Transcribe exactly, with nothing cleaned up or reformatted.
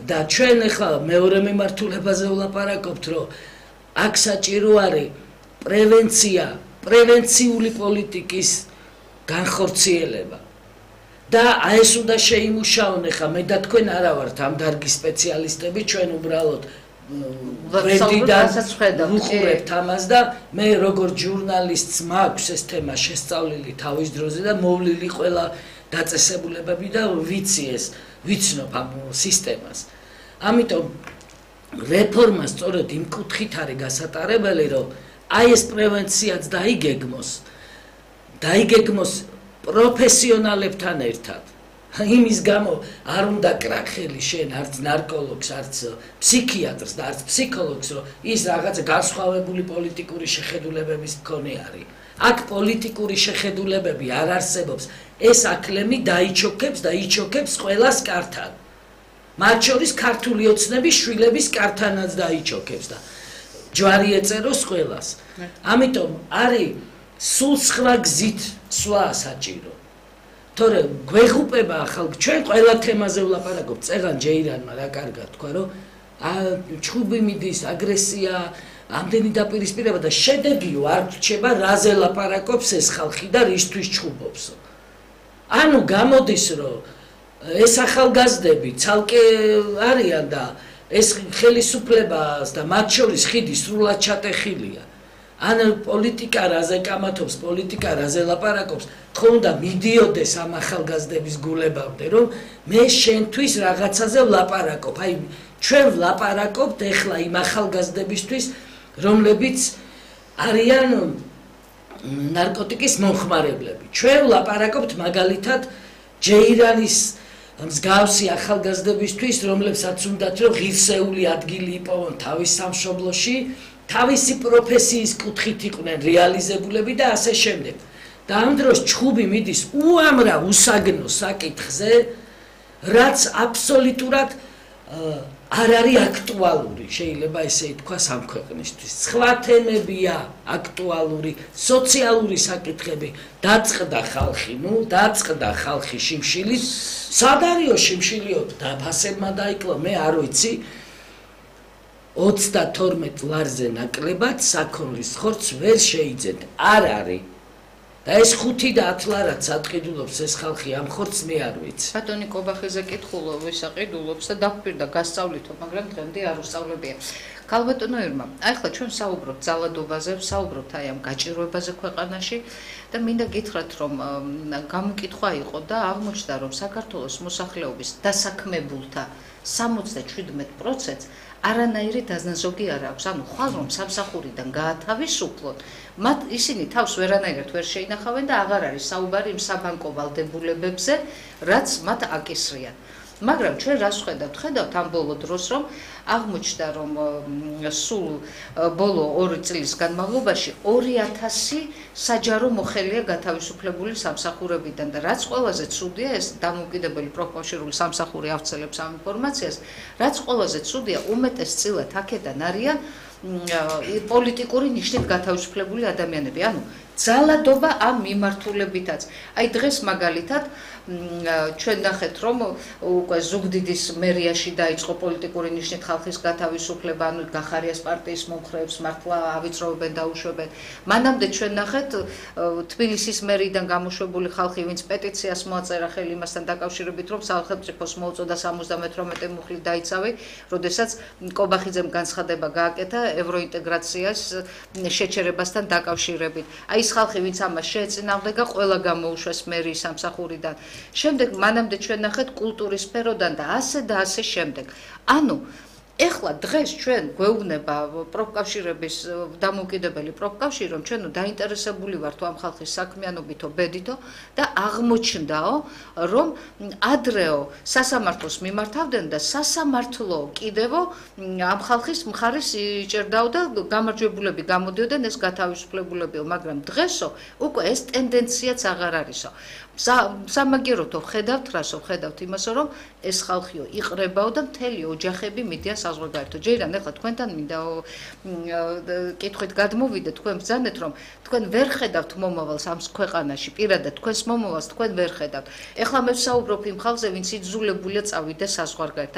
და ჩვენ ახლა მეორე მიმართულებაზე ვლაპარაკობთ, რომ აქ საჭირო არის პრევენცია, პრევენციული პოლიტიკის განხორციელება. და აი ეს უნდა შეიმუშაონ ახლა მე და თქვენ არა ვართ ამ დარგის სპეციალისტები, ჩვენ უბრალოდ ვუხურებთ ამას და მე როგორც ჟურნალისტს მაქვს ეს თემა შესწავლილი თავის დროზე და მოვლილი ყველა დაწესებულებები და ვიცი ეს ვიცნობ ამ სისტემას. ამიტომ რეფორმა სწორედ იმ კუთხით არის გასატარებელი, რომ აი ეს პრევენციაც დაიგეგმოს, დაიგეგმოს პროფესიონალებთან ერთად. იმის გამო არ უნდა კრახელი შენ არც ნარკოლოგს, არც ფსიქიატრს და არც ფსიქოლოგს, რომ ის რაღაცა განსხვავებული პოლიტიკური შეხედულებების მქონე არის. აქ პოლიტიკური შეხედულებები არ არსებობს. ეს აკლემი დაიჩოქებს და იჩოქებს ყველას კართან. მათ შორის ქართული ოცნების შვილების კართანაც დაიჩოქებს და ჯვარი ეწეროს ყველას. ამიტომ არის სულ სხვა გზით სვლა საჭირო. თორე გვეღუპება ხალხ ჩვენ ყველა თემაზე ვლაპარაკობთ. წეგან ჯეირანმა რა კარგად თქვა, რომ ჩხუბი მიდის, აგრესია, ამდენი დაპირისპირება და შედეგიო არ რჩება, რაზე ლაპარაკობს ეს ხალხი და რისთვის ჩხუბობს. ანუ გამოდის, რომ ეს ახალგაზრდები ცალკე არიან და ეს ხელისუფლებას და მათ შორის ხიდი სრულად ჩატეხილია. ან პოლიტიკა რაზე კამათობს, პოლიტიკა რაზე ლაპარაკობს, ხო უნდა მიდიოდეს ამ ახალგაზრდების გულებამდე, რომ მე შენთვის რაღაცაზე ვლაპარაკობ. აი ჩვენ ვლაპარაკობთ ეხლა იმ ახალგაზრდებისთვის, რომლებიც არიან ნარკოტიკის მომხმარებლები. ჩვენ ვლაპარაკობთ მაგალითად ჯეირანის მსგავსი ახალგაზრდებისთვის, რომლებსაც უნდათ რომ ღირსეული ადგილი იპოვონ თავის სამშობლოში, თავისი პროფესიის კუთხით იყვნენ რეალიზებულები და ასე შემდეგ. და ამ დროს ჩხუბი მიდის უამრავ უსაგნო საკითხზე, რაც აბსოლუტურად არ არის აქტუალური, შეიძლება ესე ითქვას ამ ქვეყნისთვის. სხვა თემებია აქტუალური, სოციალური საკითხები, დაწყდა ხალხი, ნუ დაწყდა ხალხი შიმშილით, სად არისო შიმშილიო დაფასებმა დაიკლო, მე არ ვიცი. ოცდათორმეტ ლარზე ნაკლებად საქონლის ხორცს ვერ შეიძენთ. არ არის. და ეს ხუთი და ათ ლარად საყიდულობს ეს ხალხი ამ ხორცს მე არ ვიცი. ბატონი კობახიძე კითხულობ, ვისაყიდულობს და დაგვირდა გასწავლითო, მაგრამ დღემდე არ უსწავლებია. ქალბატონო ირმა, აი ხლა ჩვენ საუბრობთ ძალადობაზე, საუბრობთ აი ამ გაჭირვებაზე ქვეყანაში და მინდა გითხრათ, რომ გამოკითხვა იყო და აღმოჩნდა, რომ საქართველოს მოსახლეობის დასაქმებულთა სამოცდაშვიდმეტ პროცენტს არანაირი დაზნაზოგი არ აქვს. ანუ ხვალ რომ სამსახურიდან გაათავისუფლონ, მათ ისინი თავს ვერანაირად ვერ შეინახავენ და აღარ არის საუბარი იმ საბანკო ვალდებულებებზე, რაც მათ აკისრიან. მაგრამ ჩვენ რას ხედავთ? ხედავთ ამ ბოლო დროს, რომ აღმოჩნდა, რომ სულ ბოლო ორი წლის განმავლობაში ორი ათასი საჯარო მოხელია გათავისუფლებული სამსახურებიდან და რაც ყველაზე ცუდია, ეს დამოუკიდებელი პროფკავშირული სამსახური ავრცელებს ამ ინფორმაციას, რაც ყველაზე ცუდია, უმეტესწილად აქედან არიან პოლიტიკური ნიშნით გათავისუფლებული ადამიანები. ანუ ძალადობა ამ მიმართულებითაც. აი დღეს მაგალითად ჩვენ ნახეთ, რომ უკვე ზუგდიდის მერიაში დაიწყო პოლიტიკური ნიშნით ხალხის გათავისუფლება, ანუ გახარიას პარტიის მომხრეებს მართლა ავიწროვებენ და უშვებენ. მანამდე ჩვენ ნახეთ თბილისის მერიდან გამოშვებული ხალხი, ვინც პეტიციას მოაწერა ხელი იმასთან დაკავშირებით, რომ სახელმწიფოს მოუწოდა სამოცდამეთვრამეტე მუხლით დაიცავი, როდესაც კობახიძემ განცხადება გააკეთა ევროინტეგრაციას შეჩერებასთან დაკავშირებით. აი ეს ხალხი, ვინც ამას შეეწინააღმდეგა, ყველა გამოუშვეს მერიის სამსახურიდან. შემდეგ მანამდე ჩვენ ნახეთ კულტურის სფეროდან და ასე და ასე შემდეგ. ანუ ეხლა დღეს ჩვენ გვეუბნება პროფკავშირების დამოუკიდებელი პროფკავშირი, რომ ჩვენო დაინტერესებული ვართ ამ ხალხის საქმიანობითო, ბედითო და აღმოჩნდაო, რომ ადრეო სასამართლოს მიმართავდნენ და სასამართლო კიდევო ამ ხალხის მხარეს იჭერდაო და გამარჯვებულები გამოდიოდნენ ეს გათავისუფლებულებიო, მაგრამ დღესო უკვე ეს ტენდენციაც აღარ არისო. სამაგეროთო ხედავთ რასო, ხედავთ იმასო, რომ ეს ხალხიო იყრებაო და მთელი ოჯახები მიდიან საზღვარგარეთო. ჯერან ეხლა თქვენთან მინდა კითხვით გადმოვიდე, თქვენ ბრძანეთ, რომ თქვენ ვერ ხედავთ მომავალს ამ ქვეყანაში, პირადად თქვენს მომავალს თქვენ ვერ ხედავთ. ეხლა მე ვსაუბრობ იმ ხალხზე, ვინც იძულებულია წავიდეს საზღვარგარეთ.